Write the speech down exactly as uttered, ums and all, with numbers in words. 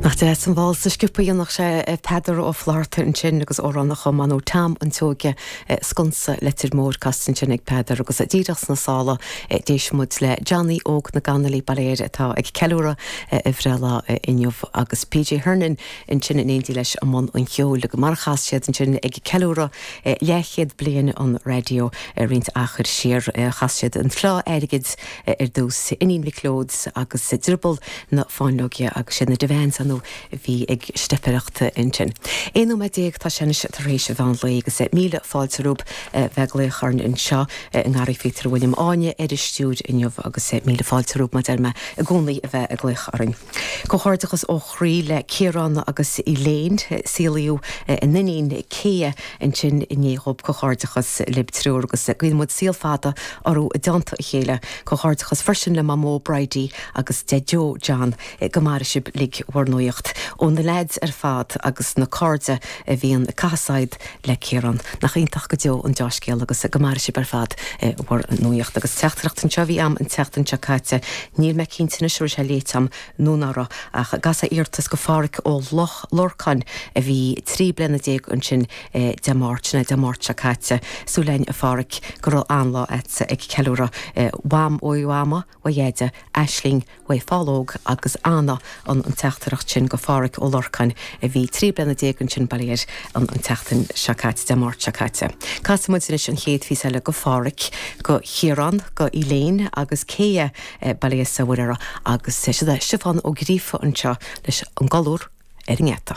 Nach deas an válsa sciobtha a dhéanfadh sé Peadar Ó Flatharta ansin agus amhrán a chum Mano Tom an tSeoige Sconsa Leitir Móir casta ansin ag Peadar agus díreach sna sála d'éist muid le Johnny Óg na gConnolly Baile Éire atá ag ceiliúradh a bhreithlá inniu agus PJ Hernon ansin in éindí leis i mbun an cheoil go mar chas siad ansin ag ceiliúradh leathchéad bliain an raidió roinnt achair siar chas siad an Fleá Airgid ar dtús Iníon Mhic Leoid agus Drioball na Fáinleoige agus siad na Devans nó bhí ag steipireacht ansin. Aon nóiméad déag tá sé anois tar éis mheán lae agus míle fáilte romhaibh bheith ag glaoch orainn anseo i nGarraí Phíotair William Áine ar an stiúir inniu agus míle fáilte romhaibh mar deir mé i gcónaí a bheith ag glaoch orainn. Comhghairdeachas ó chroí le Ciarán agus Elaine saolaíodh a n-iníon Céa ansin inné dhóibh comhghairdeachas libh triúr agus guíonn muid saol fada orthu i dteannta a chéile. Comhghairdeachas freisin le Mamó Bridie agus Deaideo John go maire sibh uilig bhur nuaíocht ó na leaids ar fad agus na cairde a bhíonn casaid le Ciarán nach iontach go deo an dea-scéal agus go maire sibh ar fad bhur nuaíocht agus teachtaireacht anseo a bhí agam an tseachtain seo caite níl mé cinnte anois raibh sé léite agam nó nach raibh ach gas iarratas go Pháraic Ó Lorcáin a bhí trí bliana déag ansin Dé Máirt na Dé Máirt seo caite súil againn a Pháraic go raibh an-lá agat ag ceiliúradh Mham ó Mhama ó Dheaide Aisling ó Fálóg agus Anna an an teachtaireacht sin go Pháraic Ó Lorcáin a bhí trí bliana déag ansin bail an an tseachtain seo caite Dé Máirt seo caite. Casfaidh muid anois an chéad phíosa eile go Pháraic go Chiarán go Elaine agus Céa bail sa bhfuir agus sé Stiofán Ó Gríofa anseo leis an gcolúr ar an ngeata.